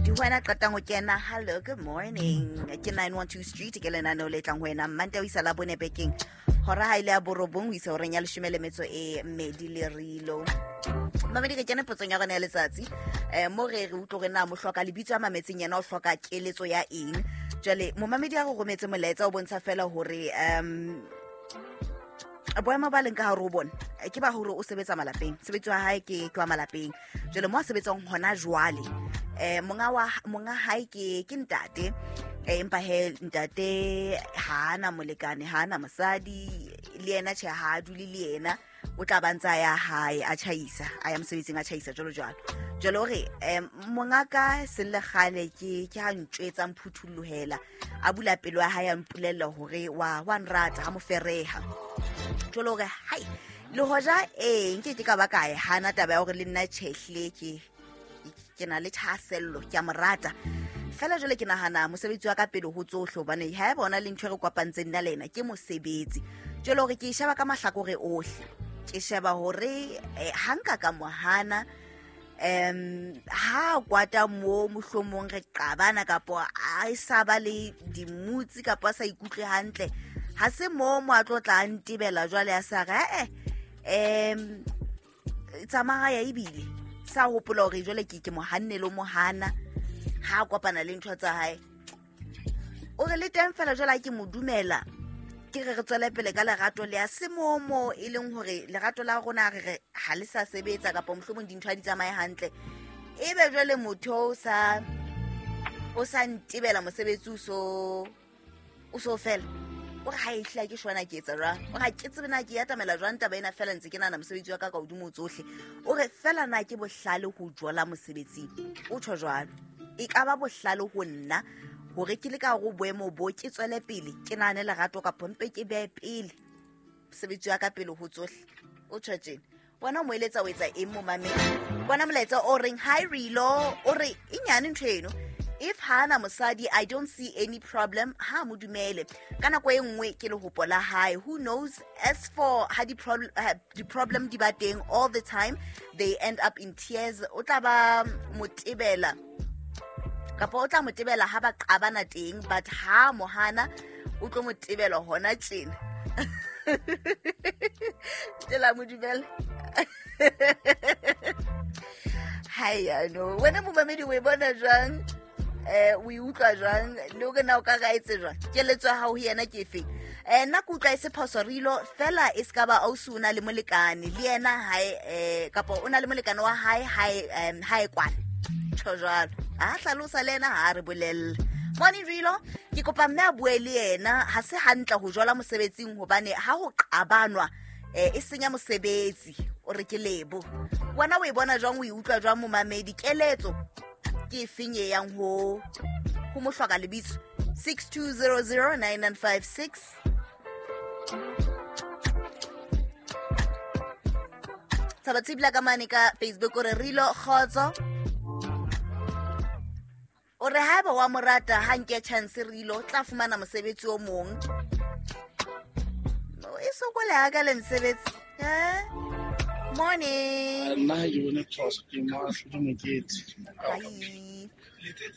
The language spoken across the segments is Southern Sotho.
Momamedi, wena qetang ho kena, hello, good morning. Ke 912 Street, ke lenaneo le tlang ho wena Mmantaha ho isa Labone bekeng. Hora ha ile ya borobong ho isa horeng ya leshome le metso e mmedi le rilo. Mamedi, re kene potsong ya rona ya letsatsi. Mo re re utlwe hore na mohloka lebitso ya mametseng yena o hloka keletso ya eng. Jwale momamedi a re rometse molaetsa o bontsha fela hore boemo ba leng ka hare ho bona ke ba hore o sebetsa malapeng, sebetsi wa hae ke wa malapeng. Jwale mo a sebetsang hona jwale, monga hae ke ntate, empa he ntate ha ana molekane, ha ana mosadi, le yena tjhe ha a dule le yena, o tla ba ntsa ya hae a tjhaisa, a ya mosebetsing a tjhaisa jwalo jwalo. Jwale o re, monga ka seng le kgale ke ha ntjwetsa mphuthulohela, a bula pelo ya hae a mpolella hore wa nrata ha mo fereha. Jwale o re, hai, le hoja nke ke ka ba ka e hana taba ya hore le nna tjhehle ke na le thahasello, ke a mo rata. Fela jwale ke nahana mosebetsi wa ka pele ho tsohle, hobane ha eba ona le ntho e re kopantseng nna le yena ke mosebetsi. Jwale hore ke e sheba ka mahlakore ohle, ke sheba hore ha nka ka mo hana, ha kwata mo mohlomong re qabana kapo a sa ba le dimutsi kapo a sa ikutlwe hantle, ha se mo mo a tlo tla ntebela jwale a sa re, tsamaya ebile sa hopola hore jwale ke mo hanne le mo hana ha a kopana le ntho tsa hae. O re le teng fela jwale ha ke mo dumela, ke re re tswele pele ka lerato le a se momo, e leng hore lerato la rona re re ha le sa sebetsa kapa mohlomong dintho ha di tsamaye hantle. Ebe jwale motho o sa ntebela mosebetsi o so fela. O re ha e hlile ke shwana ke etsa jwang? O re ha ke tsebe na ke atamela jwang taba ena, fela ntse ke nahana mosebetsi wa ka ka hodimo tsohle. O re fela na ke bohlale ho jola mosebetsing? O tjho jwalo. E ka ba bohlale ho nna hore ke le ka hore boemo bo ke tswele pele ke nahane lerato kapa mpe ke behe pele mosebetsi wa ka pele ho tsohle. O tjho tjena. Wena o mo eletsa o etsa eng momamedi? Bona molaetsa o reng hi Rilo, o re e nyane ntho eno. If ha ana mosadi, I don't see any problem, ha mo dumele. Ka nako e nngwe ke lehopo la hae. Who knows? As for ha di problem di ba teng all the time, they end up in tears. O tla ba motebela kapa o tla motebela ha ba qabana teng, but ha mohana o tlo motebela hona tjena. Tela mo dumela. Hai ano, wena momamedi o e bona jwang? O e utlwa jwang? Le hore na o ka ra etse jwang? Keletso ya hao ho yena ke efe? Nna ke utlwa e se phoso Rilo, fela e se ka ba ausi o na le molekane le yena hae, kapa o na le molekane wa hae hae kwana. Tjho jwalo. A hlalosa le yena ha re bolelle. Morning Rilo, ke kopa mme a bue le yena, ha se hantle ho jola mosebetsing hobane ha ho qabanwa, e senya mosebetsi. O re ke lebo. Wena o e bona jwang, o e utlwa jwang momamedi? Keletso ke efeng e yang ho mohloka lebitso? 62009956. Tshaba Tshibila ka mane ka Facebook o re Rilo kgotso. O re haeba wa mo rata ha nke chance Rilo tla fumana mosebetsi o mong. E sokole ha ka le mosebetsi. Morning. Nna ha ke bone phoso, ke mo ahlodi mokete. Hi.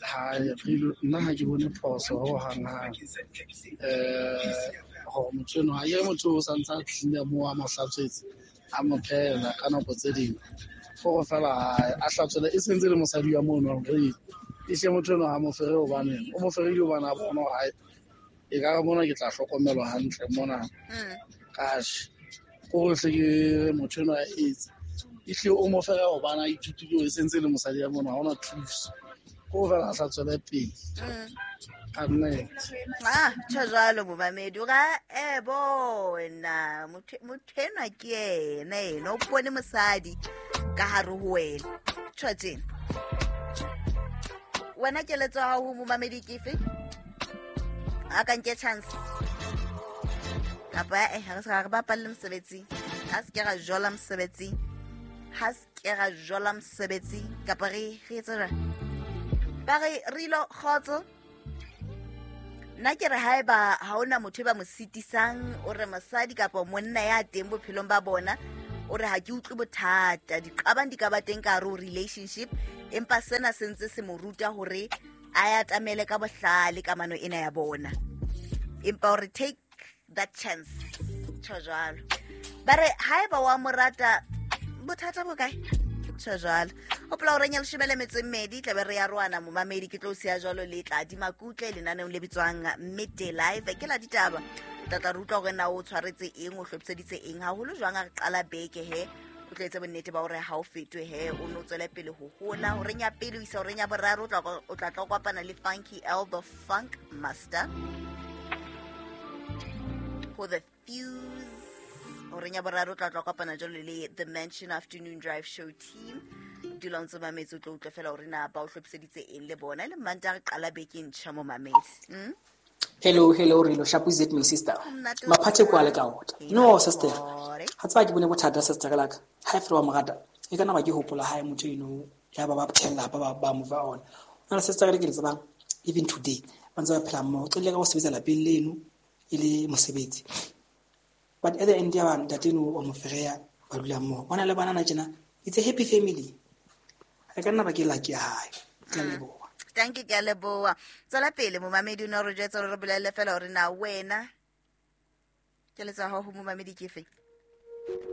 Ha, Rilo, nna ha ke bone phoso ho hang hang. Hore motho enwa, ha ke re motho o sa ntse a tlile moo a mo hlatswetse, a mo phehela ka nako tse ding. Hore fela a hlatswele, e sentse le mosadi wa mono hore e hle motho enwa ha mo fere hobane, o mo ferile hobane a bona hore hae, e ka re mona ke tla hlokomelwa hantle mona. Kash, ko re hle ke motho enwa a etse. Ehlile o mo fere hobane a ithutile hore e sentse le mosadi ya mona, ha hona thuso. Ko fela a sa tswele pele. Ka nnete. Tjho jwalo momamedi. O ra, bona, motho enwa ke yena, ena o bone mosadi ka hare ho wena. Tjho tjena. Wena keletso ya hao ho momamedi ke efe? A ka nke chance. Kapa, ha re se re bapalle mosebetsing. Ha se ke ra jola mosebetsing. Ha se ke ra jola mosebetsing. Kapa re etse jwang? Ba re Rilo kgotso. Nna ke re haeba ha hona motho e ba mo sitisang, o re mosadi kapa monna ya teng bophelong ba bona, O re ha ke utlwe bothata, diqabang di ka ba teng ka hare ho relationship, empa sena se ntse se mo ruta hore a atamele ka bohlale kamano ena ya bona. Empa o re take that chance, tjho jwalo. Ba re haeba wa mo rata, bothata bo kae? Tjho jwalo. Hopola hore ya 12:20 tlabe re ya roana momamedi, ke tlo siya jwalo le tla di makutle lenaneong le bitswang Midday Live. Ke la ditaba, tla tla re utlwa hore na o tshwaretse eng, o hlophiseditse eng, haholo jwang a re qala beke he o tlo etse bonnete ba hore ha o fetwe he, o no tswele pele ho hola. Horeng ya pele ho isa horeng ya boraro o tla tla kopana le Funky L the Funk Master ho The Fuse. Horeng ya boraro o tla tla kopana jwalo le The Mansion Afternoon Drive Show team. Dula o ntse mametse, o tlo utlwa fela hore na ba o hlophiseditse eng le bona. E le Manta re qala beke e ntjha mo mametse. Hello, hello, Rilo. Sharp is it, my sister? Monate o Maphathe kwa le ka ota. No, sister. Hore. Ha tseba ke bone bothata, sister ka laka. Ha e fela wa mo rata. E ka nna ba ke hopola hae motho eno ya ba ba phela ba ba move on. Nna le sister ka ke le tsebang even today ba ntse ba phela mmoho. Qetelle ka ho sebetsa lapeng leno e le mosebetsi. But at the end ya ba ntate eno wa mo fereya ba dula mmoho. Ba na le banana tjena. It's a happy family. E ka nna ba ke lucky ya hae. Ke a leboha. Thank you, ke a leboha. Tswela pele momamedi, o ne o re jwetsa hore re bolelle fela hore na wena keletso ya hao ho momamedi ke efe?